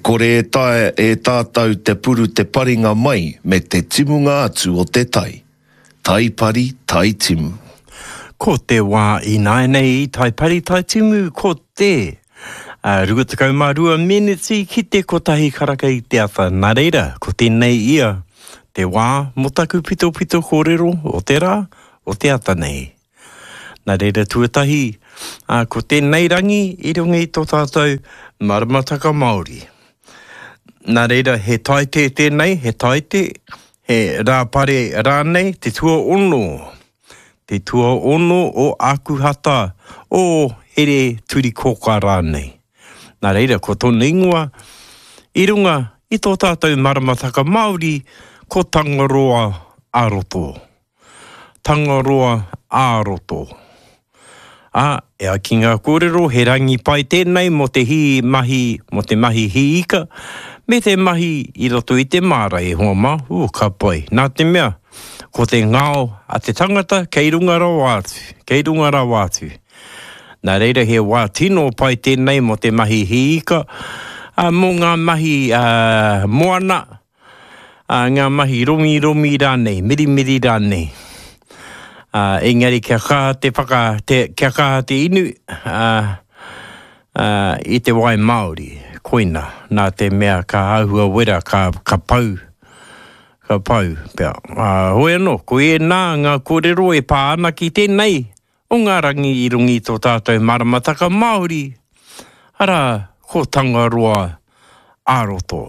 kore e taea e tātou te puru te paringa mai me te timunga atu o te tai. Tai pari, tai timu. Ko te wā ināianei i tai pari, tai timu, ko te 22 meneti ki te kotahi karaka i te ata. Nā reira, ko tēnei ia te wā mō taku pitopito kōrero o te rā, o te ata nei. Nā reira tuatahi, ā, ko tēnei rangi i runga i tō tātou maramataka Māori. Nā reira, he taite tēnei, he taite, he rāpare rānei, te tuaono, te tuaono o Ākuhata, o Here Turikōkā rānei. Nā reira, ko tōna ingoa, i runga i tō tātou maramataka Māori, ko Tangaroa a roto. Tangaroa ā-roto. Ā, e ai ki ngā kōrero, he rangi pai tēnei mō te hī mahi, mō te mahi hī ika, me te mahi i roto i te māra e hoa mā, ū, ka pai. Nā te mea, ko te ngao a te tangata kei runga rawa atu, kei runga rawa atu. Nā reira he wā tino pai tēnei mō te mahi hī ika, ā, mō ngā mahi moana, ā, ngā mahi romiromi rānei, mirimiri rānei. Ā, engari kia kaha te whaka, te, kia kaha te inu, ā, ā, i te wai Māori, koina, nā te mea ka āhua wera, ka, ka pau, ka pau pea. Ā, hoi anō, ko ēnā ngā kōrero e pā ana ki tēnei o ngā rangi i runga i tō tātou maramataka Māori, arā, ko Tangaroa ā-roto.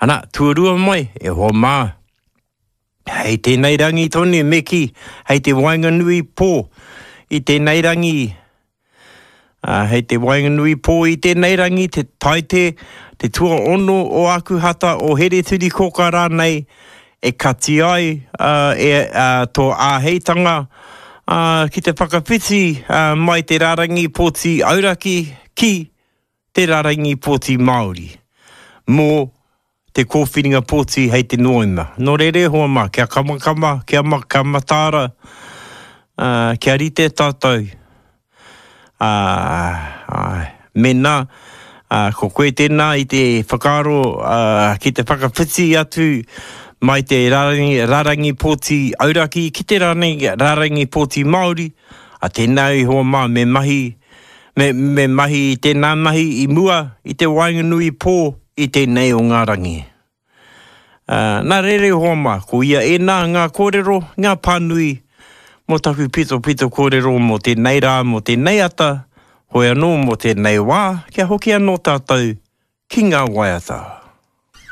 Ana, tuarua mai, e hoa mā, hei tēnei rangi tonu me kī, hei te waenganui pō i tēnei rangi, ā, hei te waenganui pō i tēnei rangi, te taite, te tuaono o Ākuhata, o Hereturikōkā rānei, e kati ai ā, e, ā, tō āheitanga ā, ki te whakawhiti ā, mai te rārangi pōti auraki ki te rarangi pōti Māori mō te kōwhiringa pōti hei te Noema. Nō reira e hoa mā, kia kamakama, kia, ma, kia mataara, ā, kia rite tātou. Ā, āe, mēnā, ā, ko koe tēnā i te whakaaro, ā, ki te whakawhiti atu mai te rarangi, rarangi pōti auraki ki te rarangi, rarangi pōti Māori, ā, tēnā e hoa mā, me mahi, Me, me mahi i tēnā mahi i mua i te waenganui pō i tēnei o ngā rangi. Ā, nā reira e hoa mā, ko ia ēnā ngā kōrero, ngā pānui mō taku pitopito kōrero mō tēnei rā, mō tēnei ata, hoi anō mō tēnei wā, kia hoki anō tātou ki ngā waiata.